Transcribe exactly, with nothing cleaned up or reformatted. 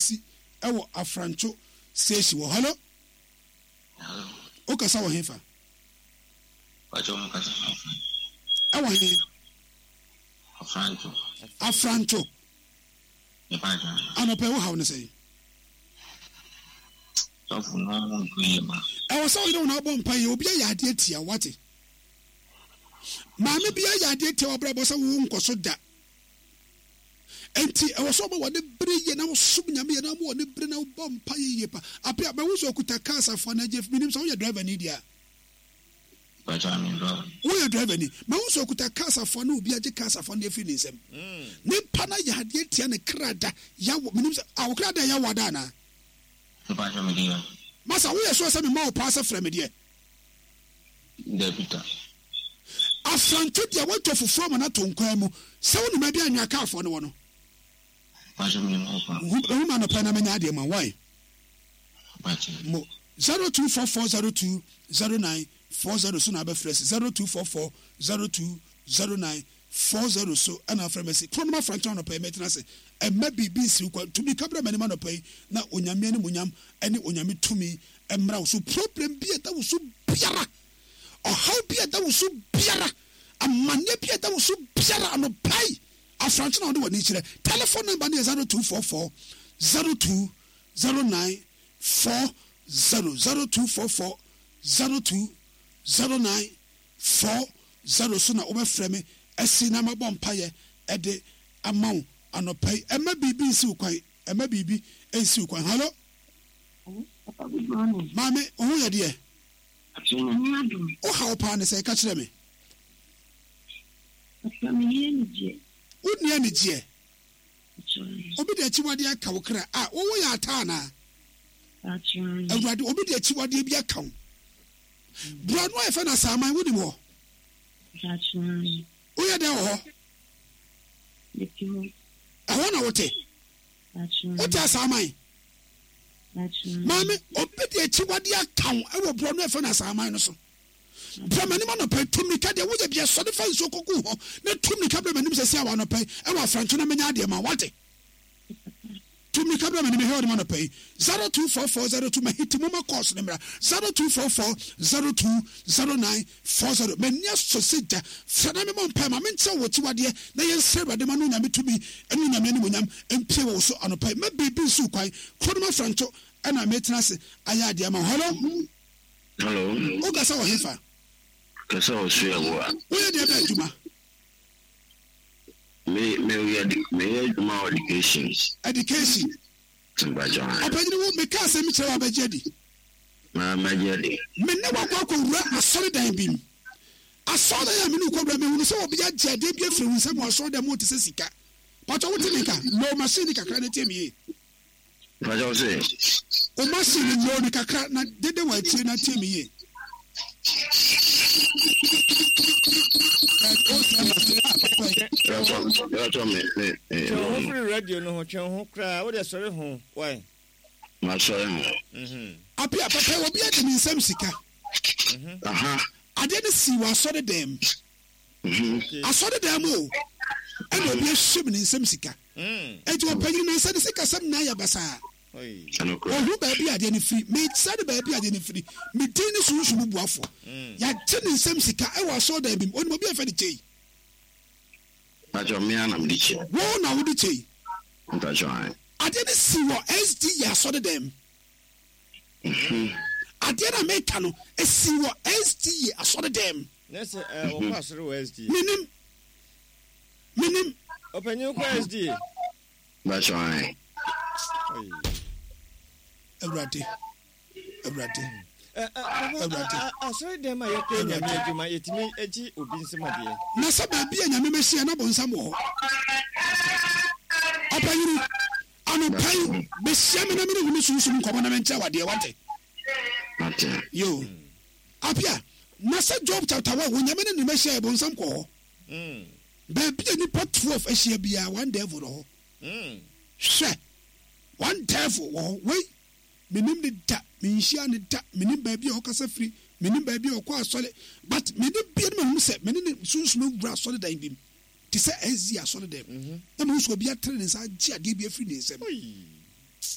Si ɛwɔ Afrancho station wɔ. Hello. Hello. Wokasa wɔ hefa? Pacho mo kasa ɛwɔ he? Afrancho. Afrancho. Mepacho. Anɔpɛ wo haw ne sɛn? Sɔfo no ho nto yie ma. Ɛwɔ sɛ woyere wo na wobɔ mpa yɛ obi ayɛ adeɛ tia wate. Maame bi ayɛ adeɛ tia wabrabɔ sɛ wo nkɔ so da. Enti ɛwɔ sɛ ɔbɔ wɔne bere yie na wosom Nyame yie na wɔn wɔne bere na wobɔ mpa yie yie pa. Apia bɛwo sɛ okuta kaa safoa na agye menim sɛ woyɛ driver ni deɛ a. Pacho ame driver. Woyɛ driver ni. Mahu sɛ okuta kaa safoa na obi agye kaa safoa no afiri ne nsam. Nipa no ayɛ adeɛ tia ne kra da yawo menim sɛ a wo kra da yawo ada anaa? Mepacho me deɛ. Masa woyɛ sure sɛ mema wo paa sɛ frɛ me deɛ? Dabi da. Afranto deɛ woatwa fufuo ama no ato nkwan mu sɛ wonim baabi a anwea kaafoɔ no wɔ no. Pacho menim hɔ paa. Hu ma anɔpa na menya adeɛ ma why? Pacho. Mo zero two four four zero two zero nine four zero so na abɛfrɛ si zero two four four zero two zero nine four zero so ɛna afrɛ mɛ si kuro no ma afranto anɔpa yi mɛtena ase ɛmɛ biribi nsiw kwan tumi kabra m'anim anɔpa yi na Onyame animuonyam ɛne Onyame tumi ɛmmra wo so. Problem bi a ɛda wo so biara, ɔhaw bi a ɛda wo so biara, amanneɛ bi a ɛda wo so biara anɔpa yi afranto na wode w'ani kyerɛ. Telephone number no yɛ zero two four four zero two zero nine four zero zero two four four zero two zero nine four zero so na wobɛfrɛ me asi na mabɔ mpayɛ ɛde ama wo anɔpa yi. Ɛmɛ biribi nsi wo kwan, ɛmɛ biribi nsi wo kwan. Hello. Papa, good morning. Maame, wo ho yɛ deɛ? Akyerɛ Nyame adom. Wo haw paa ne sɛ, ka kyerɛ me. Papa, menni anigyeɛ. Wonni anigyeɛ? Akyerɛ. Obi de akyiwadeɛ aka wo kra. A, wo yɛ ata anaa? Akyerɛ. Awurade, obi de akyiwadeɛ bi aka wo. Borɔno a yɛfɛ no Asaaman, wonim hɔ? Akyerɛ. Woyɛ dɛn wɔ hɔ? Mete hɔ. Ɛhɔ na wote? Akyerɛ. Wote Asaaman? Akyerɛ. Maame, obi de akyiwadeɛ aka wo ɛwɔ borɔno a yɛfɛ no Asaaman no so. Brɛ m'anim anɔpa yi, tu mmirika deɛ woyɛ bia sɔre fa nsuo kɔgu hɔ na tu mmirika brɛ m'anim sɛsi a wɔ anɔpa yi ɛwɔ Afrancho na menya adeɛ ma wate. Tu mmirika brɛ m'anim ɛhɛ ɔde ma anɔpa yi zero two four four zero two mahiti mo ma kɔɔso ne mmra zero two four four zero two zero nine four zero. M'ani asɔ sɛ gya frɛ na memmɔ mpae ma menkyerɛ wɔ akyiwadeɛ na yɛnsrɛ Awurade ma no Onyame tumi ɛne Onyame animuonyam mpie wɔ wo so anɔpa yi. Ma biribi nsi wo kwan. Kuro no ma Afrancho ɛna metena ase ayɛ adeɛ ama wo. Hello. Hello. Wokasa wɔ hefa? Kasa wɔ Suaboa. Woyɛ deɛ bɛ adwuma? Me me yɛ me yɛ adwuma wɔ education. Education. Mpacho. Ɔpɛnyini wo meka asɛm kyerɛ wo abɛgye adi. Ma magye adi. Me ne wakɔ akɔwura asɔredan bi mu. Asɔredan a me ne wo kɔwura mehunu sɛ obi agye adeɛ bi afiri wo nsam wɔ asɔredan mu te sɛ sika. Pacho wote me nka? Low machine kakra na tie me yie. Mpacho se. O machine low ne kakra na dede wɔ akyire na tie me yie. Mpacho me me me. Twɛn ho firi radio no ho, twɛn ho koraa, wode sɔre ho, why? Ma sɔre ho. Apia papa obi agye ne nsam sika. Aha. Adeɛ no si wɔ asɔredan mu. Asɔredan mu o, ɛna obi ahyɛ mu ne nsam sika. Enti ɔpanyin na nsa ne sika sɛm na ayɛ basaa. Ohu baabi adeɛ no firi, mekyerɛ no baabi adeɛ no firi. Me din ne sunsum buafo. Yɛagye ne nsam sika ɛwɔ asɔredan bi mu. Onim obi a yɛfrɛ no Kyei. Mpacho me ara na mede kyei. Wo na wode kyei. Mpacho ae. Adeɛ no si wɔ S D yɛ asɔredan mu. Adeɛ no a meka no esi wɔ S D yɛ asɔredan mu. Na sɛ wɔkɔ asɔre wɔ S D. Menim. Menim. Ɔpanyin kɔ S D. Mpacho ae. Awurade. Awurade. Awurade. Asɔre dɛm a yɛkɔ Nyame adwuma yɛtumi agye obi nsɛm adeɛ. Na sɛ baabi a Nyame bɛhyia na bonsam wɔ hɔ. Ɔpanyini, anɔpa yi bɛhyia me na mene wo ne sunsum nkɔmmɔ na menkyerɛ wadeɛ wate. Mate. Yo. Apia, na sɛ Job chapter one wɔ Nyame ne ne bɛhyia yɛ bonsam kɔ hɔ. Baabi a nipa twelve ahyia biara one devil wɔ hɔ. Hwɛ, one devil wɔ hɔ. Wei menim ne da, menhyia ne da, menim baabi a ɔkasa firi, menim baabi a ɔkɔ asɔre, but mene bia no mahu sɛ mene ne sunsum awura asɔre dan bi mu te sɛ S D asɔre dan mu. Na mahu sɛ obi atere ne nsa agye adeɛ bi afiri ne nsam.